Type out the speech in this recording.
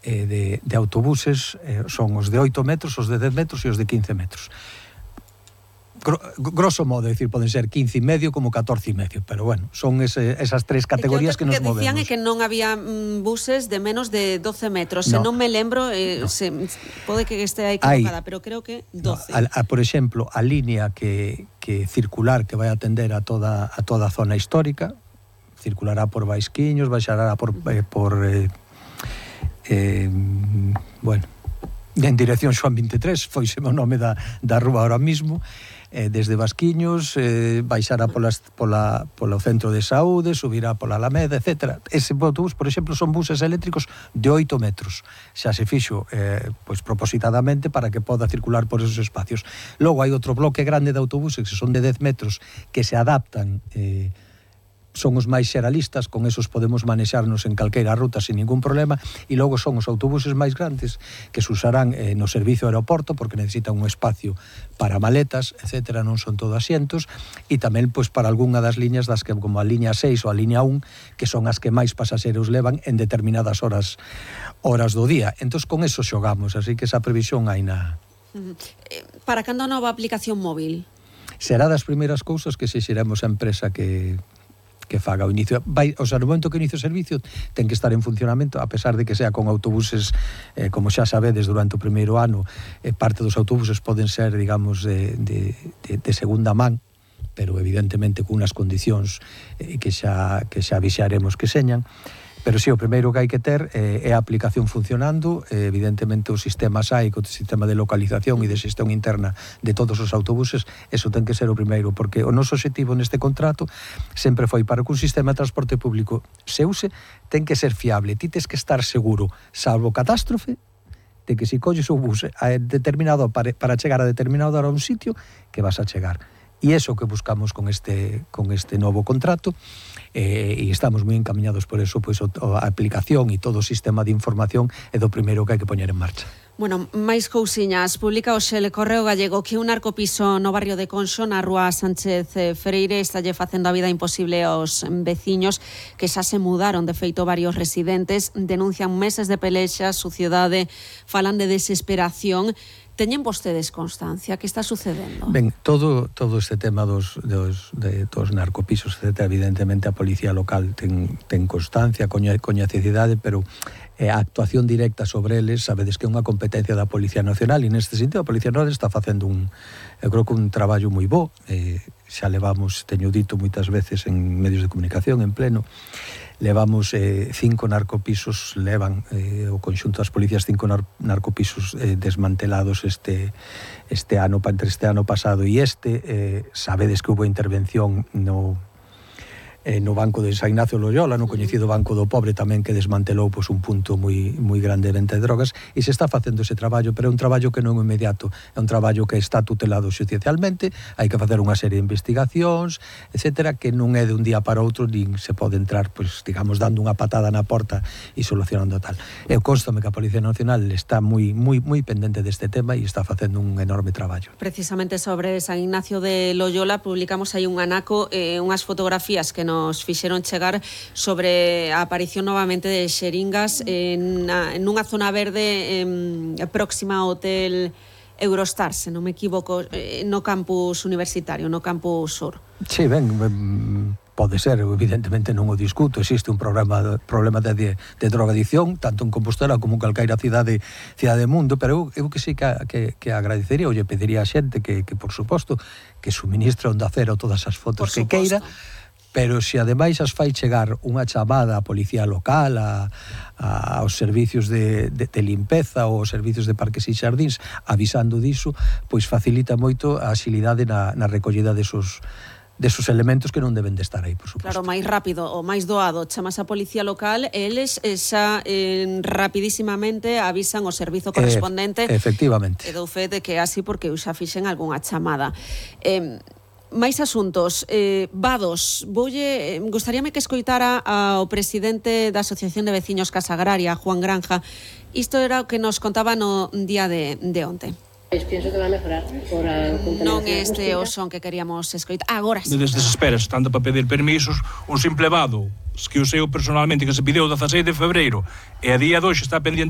de autobuses son os de 8 metros, os de 10 metros e os de 15 metros. Grosso modo, decir, poden ser 15 e medio como 14 e medio, pero bueno, son esas tres categorías que nos movemos. Que dicían é que non había buses de menos de 12 metros, se non me lembro, pode que este equivocada, pero creo que 12. Por exemplo, a línea que circular que vai atender a toda a zona histórica, circulará por Baisquiños, baixará por bueno, en dirección Xoán 23, foise o nome da rúa ahora mismo, desde Basquiños, baixará polo centro de saúde, subirá pola Alameda, etc. Ese autobús, por exemplo, son buses eléctricos de 8 metros. Xa se fixo propositadamente para que poda circular por esos espacios. Logo hai outro bloque grande de autobuses que son de 10 metros que se adaptan, son os máis xeralistas, con esos podemos manexarnos en calqueira ruta sin ningún problema, e logo son os autobuses máis grandes que se usarán no servicio aeroporto porque necesitan un espacio para maletas, etc., non son todo asientos, e tamén para algunha das liñas como a liña 6 ou a liña 1, que son as que máis pasaxeros levan en determinadas horas do día. Entón, con eso xogamos, así que esa previsión hai na... Para cando a nova aplicación móvil? Será das primeiras cousas que se xeremos a empresa que faga o inicio. O sea, no momento que inicio o servicio ten que estar en funcionamento, a pesar de que sea con autobuses, como xa sabedes, durante o primeiro ano, parte dos autobuses poden ser, digamos, de segunda man, pero evidentemente con unas condicións que xa vixaremos que señan. Pero sí, o primeiro que hai que ter é a aplicación funcionando, evidentemente o sistema SAIC, o sistema de localización e de xestión interna de todos os autobuses, eso ten que ser o primeiro, porque o noso objetivo neste contrato sempre foi para que un sistema de transporte público se use, ten que ser fiable, ti tes que estar seguro, salvo catástrofe, de que se colles o bus determinado para chegar a determinado hora a un sitio, que vas a chegar. E iso que buscamos con este novo contrato, e estamos moi encaminados por eso, a aplicación e todo o sistema de información é do primeiro que hai que poñer en marcha. Bueno, máis cousiñas. Publica hoxe o Correo Gallego que un narcopiso no barrio de Conxo, na rúa Sánchez Freire, estalle facendo a vida imposible aos veciños que xa se mudaron. De feito, varios residentes denuncian meses de pelexas, suciedade, falan de desesperación. Teñen vostedes constancia? Que está sucedendo? Ben, todo este tema dos narcopisos, etc., evidentemente a policía local ten constancia, coñececidade, pero a actuación directa sobre eles, sabedes que é unha competencia da Policía Nacional, e neste sentido a Policía Nacional está facendo eu creo que un traballo moi bo, xa levamos, teño dito moitas veces en medios de comunicación, en pleno, levamos 5 narcopisos, levan o conxunto das policías 5 narcopisos desmantelados este ano, entre este ano pasado e sabedes que houve intervención no Banco de San Ignacio Loyola, no coñecido Banco do Pobre tamén, que desmantelou un punto moi grande de venta de drogas, e se está facendo ese traballo, pero é un traballo que non é inmediato, é un traballo que está tutelado xudicialmente, hai que facer unha serie de investigacións, etcétera, que non é de un día para outro, nin se pode entrar, digamos, dando unha patada na porta e solucionando tal. Constame que a Policía Nacional está moi pendente deste tema e está facendo un enorme traballo. Precisamente sobre San Ignacio de Loyola publicamos aí un anaco, unhas fotografías que nos fixeron chegar sobre a aparición novamente de xeringas nunha zona verde próxima ao hotel Eurostar, se non me equivoco, no campus universitario, no campus sur. Sí, ben, pode ser, evidentemente non o discuto, existe un problema de drogadicción, tanto en Compostela como en calqueira cidade do mundo, pero eu que sí que agradecería, ou lle pediría a xente que por suposto, que suministre Onda Cero todas as fotos que queira, pero se ademais as fai chegar unha chamada á policía local, aos servicios de limpeza ou aos servicios de parques e xardíns avisando diso, pois facilita moito a axilidade na recollida desos elementos que non deben de estar aí, por suposto. Claro, máis rápido ou máis doado, chamas a policía local, eles xa rapidísimamente avisan o servizo correspondente. Efectivamente. E dou fe de que así porque eu xa fixen algunha chamada. Máis asuntos, vados. Gustaríame que escoitara ao presidente da Asociación de Veciños Casa Agraria, Juan Granja. Isto era o que nos contaba no día de onte. Pienso que va a mejorar por a non este o son que queríamos escoitar. Agora sí. Desesperas, tanto para pedir permisos, un simple vado que o seu personalmente, que se pideu 16 de febreiro, e a día de hoxe está pendiente